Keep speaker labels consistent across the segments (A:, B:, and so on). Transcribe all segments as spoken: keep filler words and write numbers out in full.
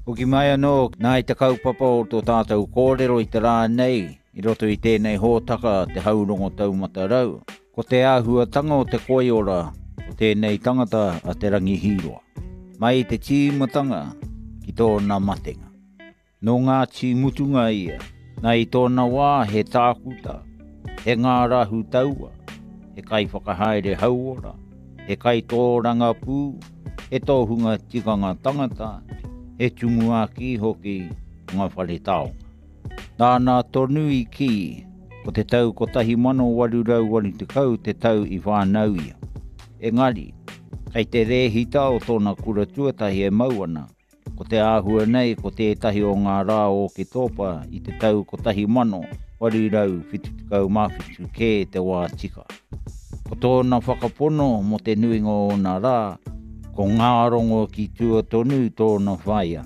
A: Hoki mai anō, nā i te kaupapa o tō tātou kōrero i te rā nei, i roto i tēnei hōtaka te haurongo taumata rau, ko te āhuatanga o te koiora o tēnei tangata a Te Rangi Hīroa. Mai i te tīmatanga ki tōna matenga. Nō Ngāti Mutunga ia, nā i tōna wā he tākuta, he ngārahu taua, he kaiwhakahaere hauora, he kaitōrangapū, he tohunga tikanga tangata, he tumuaki hoki o ngā whare taonga. Nāna tonu i kī, ko te tau kotahi mano waru rau waru tekau te tau i whānau ia. Engari, kei te rēhita o tōna kura tuatahi e mau ana, ko te āhua nei ko tētahi o ngā rā o Oketopa i te tau kotahi mano waru rau whitu tekau mā whitu kē te wā tika. Ko tōna whakapono mō te nuinga o ōna rā, ko Ngārongo ki tua tonu tōna whaea.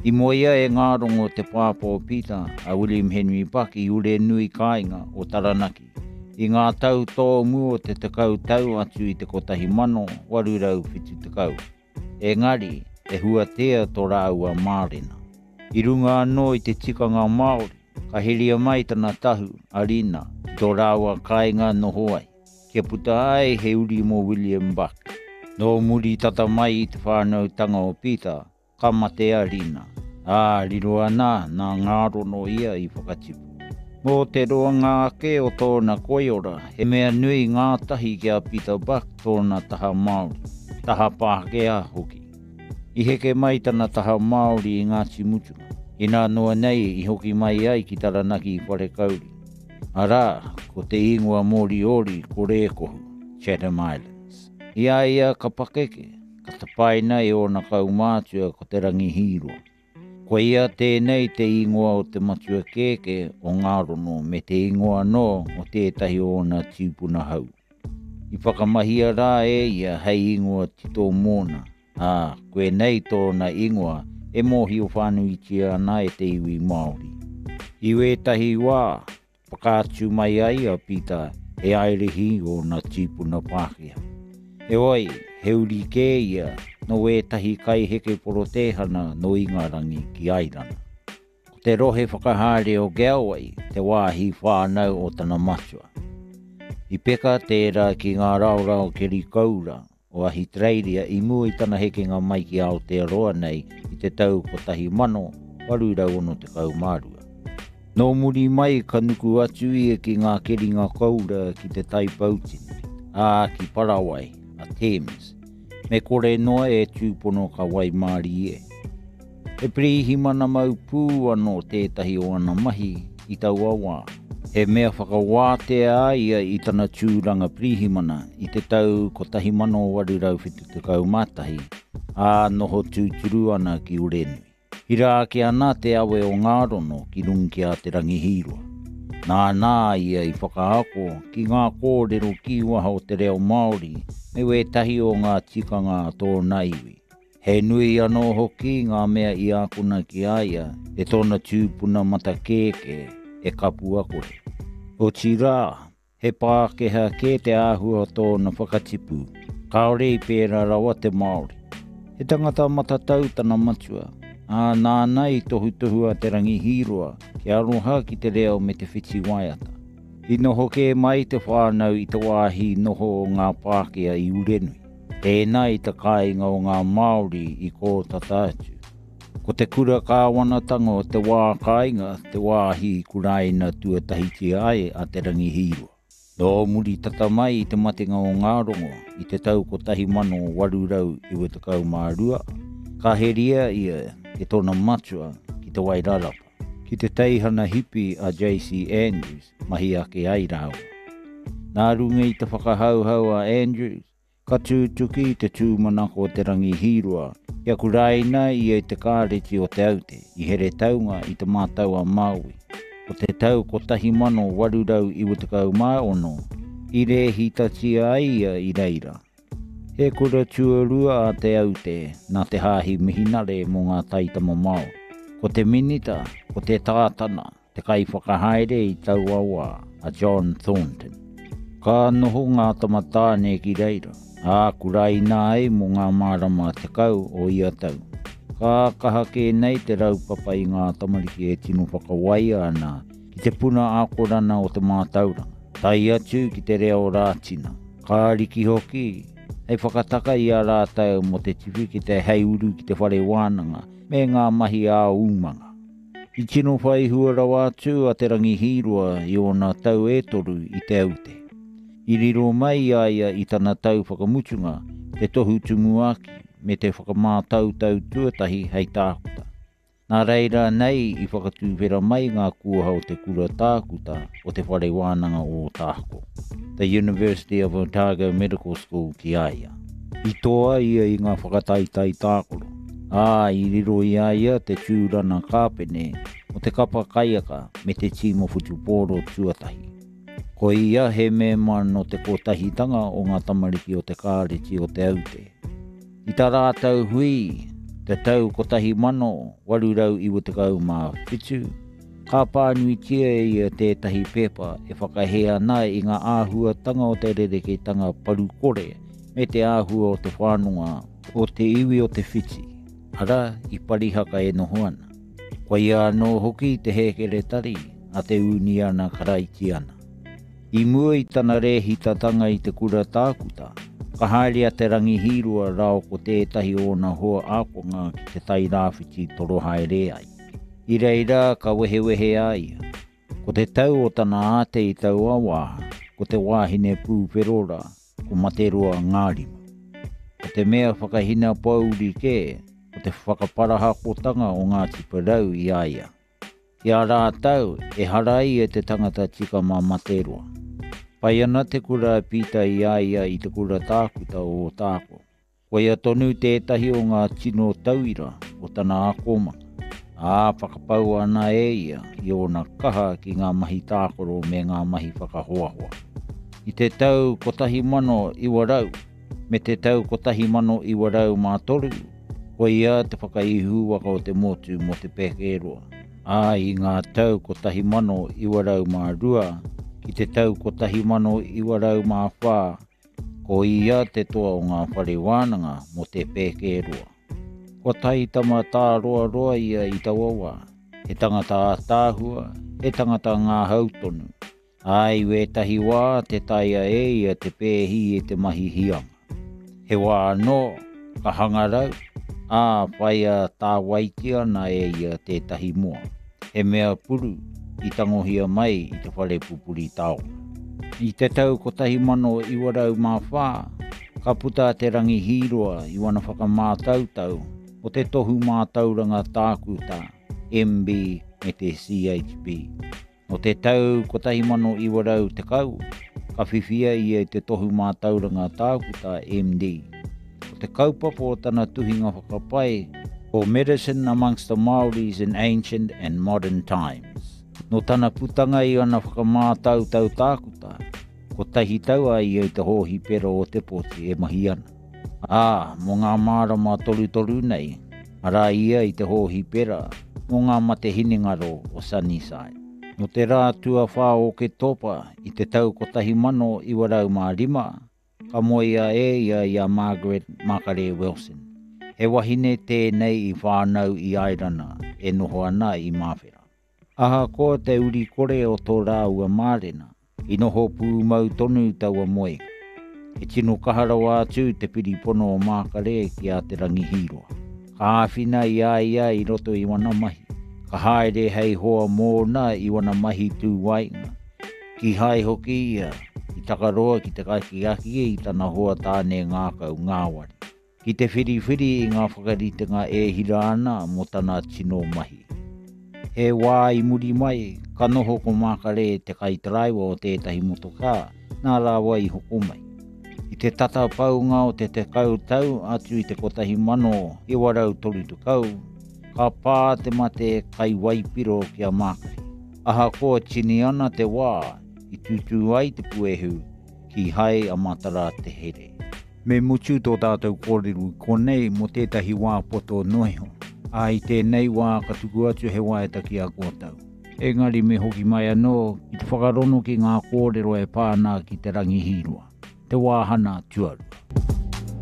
A: I moea e Ngārongo te pāpā o Peter a William Henry Buck i Urenui kāinga o Taranaki. I ngā tau tōmua o te tekau tau atu i te kotahi mano waru rau whitu tekau. Engari, he huatea tō rāua mārena. I runga anō i te tikanga Māori, ka heria mai tana tahu, a Rina, ki tō rāua kāinga noho ai, kia puta ai he uri mō William Buck. Nō muri tata mai i te whānautanga o Peter, ka mate a Rina, ā, riro ana nā Ngārono ia i whakatipu. Mō te roanga ake o tōna koiora, he mea nui ngātahi ki a Peter Buck tōna taha Māori, taha Pākehā hoki. I heke mai tana taha Māori i Ngāti Mutunga, inā noa nei i hoki mai ai ki Taranaki i Wharekauri. Arā, ko te ingoa Moriori ko Rēkohu, Chatham Islands. I a ia ka pakeke, ka tapaina e ōna kaumātua ko Te Rangi Hīroa. Koia tēnei te ingoa o te matua kēkē o Ngārono me te ingoa anō o tētahi o ōna tīpuna hau. I whakamahia rā e ia hei ingoa tito mōna, ā, koinei tōna ingoa e mōhio whānuitia ana e te iwi Māori. I wētahi wā, whakaatu mai ai a Peter he airihi ōna tīpuna Pākehā. Heoi, he uri kē ia nō wētahi kaiheke porotēhana nō Ingarangi ki Airana. Ko te rohe whakahaere o Galway te wāhi whānau o tana matua. I peka tērā ki ngā raorao keri koura o Ahitereiria i mua i tana hekenga mai ki Aotearoa nei i te tau kotahi mano waru rau ono tekau mā rua. Nō muri mai ka nuku atu ia ki ngā keringa koura ki te Tai Poutini, ā, ki Parawai, a Thames, me kore noa e tūpono ka waimārie. He pirihimana mau pū anō tētahi o ana mahi i taua wā. He mea whakawātea a ia i tana tūranga pirihimana i te tau kotahi mano waru rau whitu tekau mā tahi, ā, noho tūturu ana ki Urenui. Hira ake ana te awe o Ngārono ki runga ki a Te Rangi Hīroa. Nāna ia i whakaako ki ngā kōrero kīwaha o te reo Māori me wētahi o ngā tikanga a tōna iwi. He nui anō hoki ngā mea i ākona ki a ia e tōna tūpuna matakēkē e kapua kore. Otirā, he Pākehā kē te āhua o tōna whakatipu, kāore i pērā rawa te Māori. He tangata matatau tana matua, ā, nāna i tohutohu a Te Rangi Hīroa kia aroha ki te reo me te whiti waiata. I noho kē mai te whānau i te wāhi noho o ngā Pākehā i Urenui, tēnā i te kāinga o ngā Māori i kō tata atu. Ko te kura kāwanatanga o te wā kāinga te wāhi i kuraina tuatahitia ai a Te Rangi Hīroa. Nō muri tata mai i te matenga o Ngārongo i te tau kotahi mano waru rau iwa tekau mā rua, ka heria ia e tōna matua ki te Wairarapa, ki te teihana hipi a J C Andrews mahi ake ai rāua. Nā runga i te whakahauhau a Andrews, ka tūtuki te tūmanako o Te Rangi Hīroa kia kuraina ia i te kāreti o Te Aute i Heretaunga i te Mātau a Māui. Ko te tau kotahi mano waru rau iwa tekau mā ono, i rēhitatia ai ia i reira. He kura tuarua a Te Aute nā te hāhi mihinare mō ngā taitama Māori. Ko te minita, ko te tātana, te kaiwhakahaere i taua wā, a John Thornton. Ka noho ngā tama tāne ki reira, ā, kuraina ai mō ngā marama tekau o ia tau. Ka kaha kē nei te raupapa i ngā tamariki e tino whakawaia ana ki te puna akorana o te mātauranga, tae atu ki te reo Rātina. Ka riki hoki, hei whakataka i a rātou mō te tiwhikete hei uru ki te whare wānanga me ngā mahi ā-umanga. I tino whai hua rawa atu a Te Rangi Hīroa i ōna tau e toru i Te Aute. I riro mai i a ia i tana tau whakamutunga te tohu tumuaki me te whakamātautau tuatahi hei tākuta. Nā reira nei i whakatuwhera mai ngā kuaha o te kura tākuta o te whare wānanga o Ōtākou, The University of Otago Medical School ki a ia. I toa ia i ngā whakataetae tākaro, ā, i riro i a ia te tūrana kāpene o te kapa kaiaka me te tīma whutupōro tuatahi. Ko ia he mema nō te kotahitanga o ngā tamariki o te kāreti o Te Aute. I tā rātou hui, te tau kotahi mano, waru rau iwa tekau mā whitu, ka pānuitia e ia tētahi pepa e whakahē ana i ngā āhuatanga o te rerekētanga parukore me te āhua o te whānunga o te iwi o Te Whiti, arā, i Parihaka e noho ana. Koia anō hoki te hēkeretari a te Uniana Karaitiana. I mua i tana rēhitatanga i te kura tākuta, ka haere a Te Rangi Hīroa rāua ko tētahi o ōna hoa ākonga ki te Tai Rāwhiti toro haere ai. I reira ka wehewehe a ia. Ko te tau o tana āte i taua wā, ko te wāhine pūwhero rā, ko Materoa Ngārima. Ko te mea whakahina pōuri kē, ko te whakaparahakotanga o Ngāti Porou i a ia. Ki a rātou, ehara ia te tangata tika mā Materoa. Pai ana te kura a Pita i a ia i te kura tākuta o Ōtākou. Koia tonu tētahi o ngā tino tauira o tana akomanga, ā, whakapaua ana e ia i ōna kaha ki ngā mahi tākaro me ngā mahi whakahoahoa. I te tau kotahi mano iwa rau me te tau kotahi mano iwa rau mā toru, koia te whakaihuwaka o te motu mō te Pēkeroa, ā, i ngā tau kotahi mano iwa rau mā rua ki te tau kotahi mano iwa rau mā whā, ko ia te toa o ngā whare wānanga mō te Pēkeroa. Kua taitama tāroaroa ia i taua wā, he tangata ātaahua, he tangata ngāhau tonu, ā, i wētahi wā te taea e ia te pēhi e te mahi hianga. He wā anō, ka hangarau, ā, whaia tāwaitia ana e ia tētahi moa, he mea puru i tangohia mai i te whare pupuri taonga. I te tau kotahi mano iwa rau mā whā, ka puta a Te Rangi Hīroa i wana whakamātautau o te tohu mātauranga tākuta, M B me te C H B. Nō te tau kotahi mano iwa rau tekau, ka whiwhia ia i te tohu mātauranga tākuta M D. Ko te kaupapa o tana tuhinga whakapae ko Medicine Amongst the Māoris in Ancient and Modern Times. Nō tana putanga i ana whakamātautau tākuta, kotahi tau a ia i te hōhipera o Te Poti e mahi ana. Ā, mō ngā mārama torutoru nei, arā ia i te hōhipera mō ngā mate hinengaro o Sunnyside. Nō te rā tuawhā o Oketopa i te tau kotahi mano iwa rau mā rima, ka moea e ia i a Margaret Makare Wilson. He wahine tēnei i whānau i Airana e noho ana i Māwhera. Ahakoa te uri kore o tō rāua mārena, i noho pūmau tonu taua moenga. He tino kaha rawa atu te piripono o Mākare ki a Te Rangi Hīroa. Ka āwhina i a ia i roto i wana mahi, ka haere hei hoa mōna i wana mahi tūwainga. Kīhai hoki ia i takaroa ki te kakiaki i tana hoa tāne ngākau ngāwari, ki te whiriwhiri i ngā whakaritenga e hira ana mō tana tino mahi. He wā i muri mai, ka noho ko Mākare te kaitaraiwa o tētahi motokā, nā rāua i hoko mai. I te tata paunga o te tekau tau atu i te kotahi mano iwa rau toru tekau, ka pā te mate kai waipiro ki a Mākare. Ahakoa tini ana te wā i tūtū ai te puehu, kīhai a Matara te here. Me mutu tō tātou kōrero i konei mō tētahi wā poto noa iho. Ā, i tēnei wā ka tuku atu he waeta ki a koutou. Engari me hoki mai anō ki te whakarono ki ngā kōrero e pā ana ki Te Rangi Hīroa, te wāhana tuarua.